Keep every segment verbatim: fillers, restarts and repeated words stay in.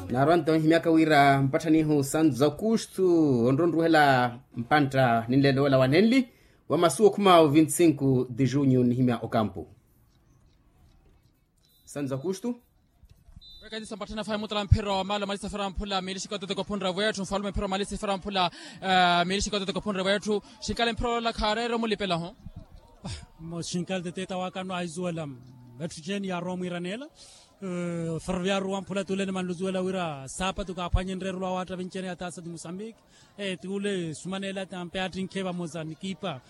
Naarwa nto nhimyaka wira mpatthanihu santos aukustu onronruhela mpantta ninleelo wela wanenli wa masu okhuma o vinti sinku de junyu nnihimya okampu. Santos aukustu. Wekatisa mpatthana fayi mutala mphira wa maalo malisa fera mphula miili xikoto tikophunre wetthu nfalume mphira wa malisa fera mphula. Miili xikoto tikophunre wetthu. Xinkale mphira olola khareere omulipela ho. Xinkale teteta wakano ahisuwela. Etthu ceni yaarowa omwiiraneela. Ferroviario wamphula tuulene manluzuwela wira saapatu kaaphwanye nreerelo awaatta vincene ya taasa di musambiki. Tuule sumaneela tampe attinkhe vamosa nikipa.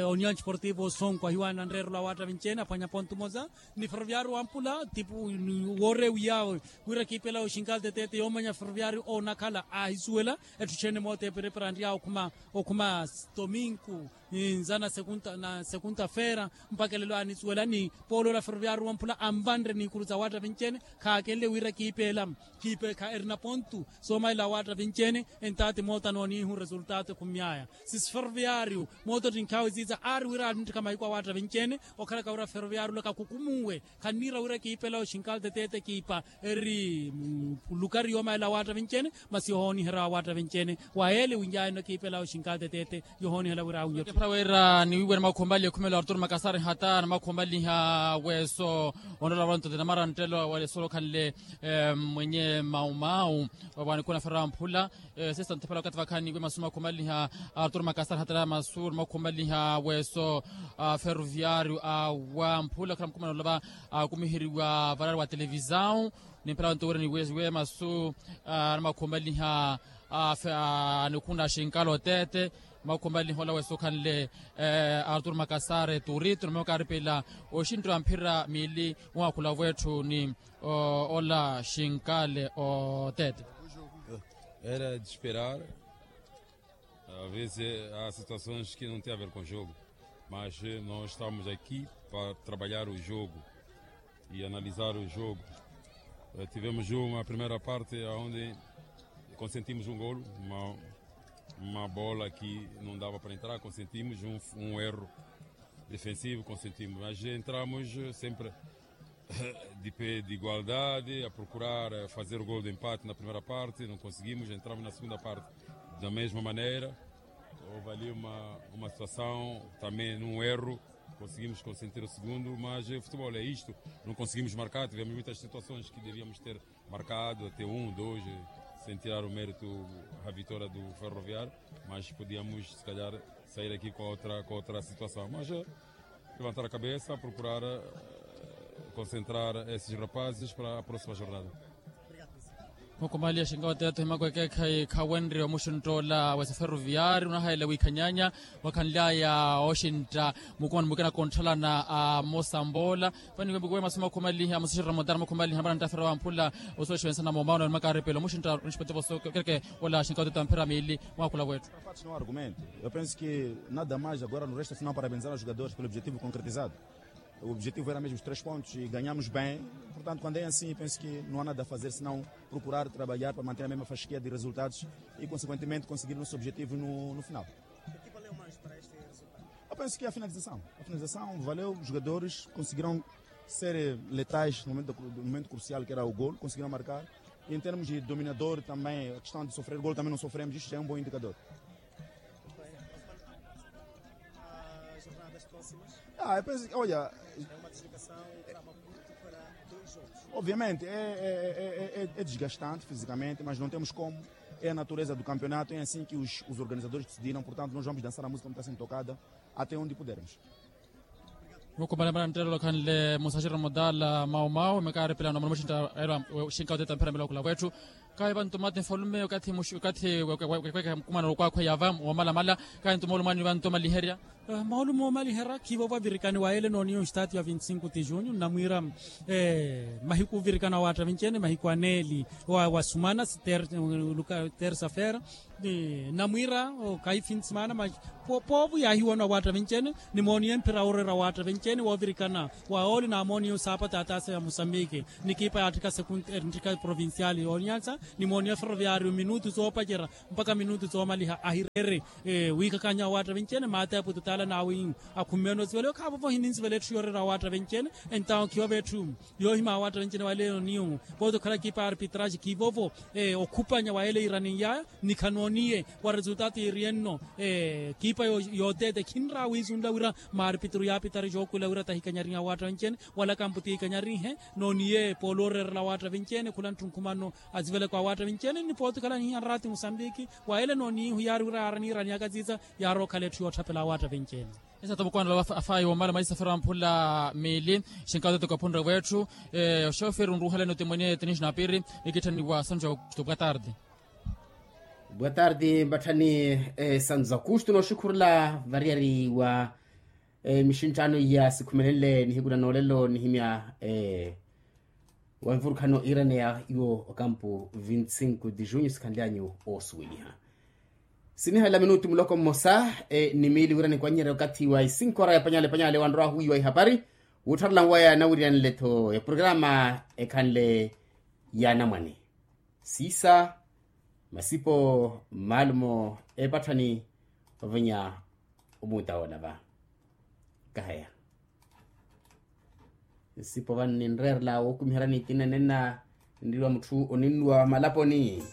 Union sportivo osonko ahiwaana nreerelo awaatta vincene aphwanya pontu mosa. Ni ferroviario wamphula tipu woorewiyawe wira kiipela oxinkale tetete yoomanya ferroviario onakhala ahisuwela. Etthu cene moota eperepera anriyaawe okhuma okhuma. Tominku nza na sekunta na sekunta feera mpaka elelo anisuwela ni poolo ola ferroviario wamphula anvanre n'ikuru sa waatta vincene. Khaakenle wira kiipeela kiipe kha erina pontu. Soomalela awaatta vincene entaati moota nooniihu resultato ekhumyaya sisi ferroviario moota ottinkhaawe siisa aari wira anittikha mahiku awaatta vincene. Okhalaka wira ferroviario ola kakukumuwe. Khanniira wira kiipela oxinkale tetete kiipa eri lukari yoomalela awaatta vincene. Masi yohooniherya awaatta vincene wa yeele winjaayeno kiipela oxinkale tetete. Yohooniherya wira awinyotthe. Para wira niwiiwe na makhumbali ekhumelo arturo makasari hata na makhumbaliha weso. Onrola wala ntote na maranttelo wala esolo khanle mwenye maumau. Wawanikhuna fera mphula. Sesta nthepela wakati vakhaani wi masu makhumbaliha arturo makasari hata na masu makhumbaliha weso. Ferroviario awa mphula khula mkhumana olova akumiheriwa varari wa televisao. Nimpela wantu wira niwezi we masu na makhumbaliha anikhuna xinkalo tete. Makhumbaliha ola weso khanle arturo makasare turito na makaaripela oxinto wa mphira miili. Mwakhula wetthu ni ola xinkale otete. Era de esperar. Às vezes há situações que não tem a ver com o jogo, mas nós estamos aqui para trabalhar o jogo e analisar o jogo. Tivemos uma primeira parte onde consentimos um golo, uma bola que não dava para entrar, consentimos um erro defensivo, consentimos, mas entramos sempre de pé de igualdade a procurar fazer o golo de empate na primeira parte, não conseguimos, entramos na segunda parte da mesma maneira. Houve ali uma situação também num erro, conseguimos consentir o segundo, mas o futebol é isto, não conseguimos marcar, tivemos muitas situações que devíamos ter marcado até um dois, sem tirar o mérito à vitória do Ferroviário, mas podíamos se calhar sair aqui com outra situação, mas levantar a cabeça, procurar concentrar esses rapazes para a próxima jornada. Mukumaliya xinka watete ohimaku ekeekhayi khawenrye omuxintta ola wesa ferroviario onahayela wiikhanyanya. Wakhanlyaya oxintta mukumani mukina kontthalana a mosambola. Vaniwembukiwe masu makhumaliha musaxirira mutara makhumaliha marantta fera wamphula. Osuwexuwensana momauna ni makaaripelo muxintta onixipete voso kereke. Ola xinka watete amphira miili. Mwakula wetthu. Parte no argumento, eu penso que nada mais agora no resto afinal parabenzar os jogadores pelo objetivo concretizado. O objetivo era mesmo os três pontos e ganhamos bem. Portanto quando é assim penso que não há nada a fazer senão procurar trabalhar para manter a mesma fasquia de resultados e consequentemente conseguir o nosso objetivo no final. Eu penso que a finalização a finalização valeu, os jogadores conseguiram ser letais no momento crucial que era o golo, conseguiram marcar. E em termos de dominador também a questão de sofrer golo também não sofremos, isto já é um bom indicador. As jornadas próximas? Ah, eu penso que olha, obviamente é desgastante fisicamente, mas não temos como. É a natureza do campeonato, é assim que os organizadores decidiram, portanto nós vamos dançar a música como está sendo tocada até onde pudermos. Mukumale mara nttelo khanle musaxiro mudala maumau mekaaripela nomano muxintta. Xinka oteta mphira mila okula wetthu. Kahi vantu mati nfalume okathi mukumana okwakhweya va womalamala. Kahi ntu moolumo anivantu omaliherya. Moolumo omaliherya khiivo vavirikani wa ele nooniyo nstaati ya vinti sinku ti junyu nnamwiira mahiku ovirikana wa watta vincene mahiku aneeli wa sumana. Tersa fera namwiira okayi fin de semana mas poovo yaahiwano awaatta vincene. Nimooniye mphira wooreera awaatta vincene woovirikana wa oole naamooniye osaapata ataasa ya mosambiki. Nikiipa yaatthika provincial yoonyansa Nimooniya ferroviario minutu soopacerya mpakha minutu soomaliha ahireere. Wiikhakhanya awaatta venci-ene maati aputu taala naawe ihu akhummene osivela yo khaavovo hininzivela etthu yooreera awaatta venci-ene. Entawo khiyo vetthu yoohima awaatta venci-ene waleyo nihu pooti okhala kipa arpitraji khivovo. Okhupanya wa ele iraninyaya ni khanooniye wa resultatu iriyenno. Kipa yooteete khinra wiisunla wira maarpitru yaapitari jookhula wira tahikanyarinhe awaatta venci-ene wala kampu tiikanyarinhe. Nooniye poolo ooreerela awaatta venci-ene khula ntthunkhumano aziveleko awaatta venci-ene ni pooti okhala nihiya nraati musambiki. Wa ele nooniihu yaari wira yaaraniirani akaziza yaari okhala etthu yootthapela awaatta venci-ene. Esata mukwaanela afaayi womala maisa fera mphula miili. Xinkato tikophunre wetthu oxoferi onruuhelani otimwene tinishi na piiri. Nikitthaniwa sanju ya aukusto bwa tarde. Bwa tarde mbatthani. Sanju za aukusto nooxukhurela variyari wa mixinttano iya sikhumelenle nihiku na noolelo nihimya wa mvurukhano iraneya iwo okampu vinti sinku di junyu sikhanlyanyu oosuweliha. Sinihalela minutu muloko mmosa ni miili wira nikwanyerya okathi wa isinkhora ya panyale panyale wanrwa ahuwiwa ihapari wuuttharela nwaya nawiriyanle-tho ya programa ekhanle ya anamwane siisa masipo maalumo epatthani ovenya omuuta woona va. Kaheya nsipo vano ninreerela wookumiherya ni kinenena nriwa mutthu oninnuwa malaponi.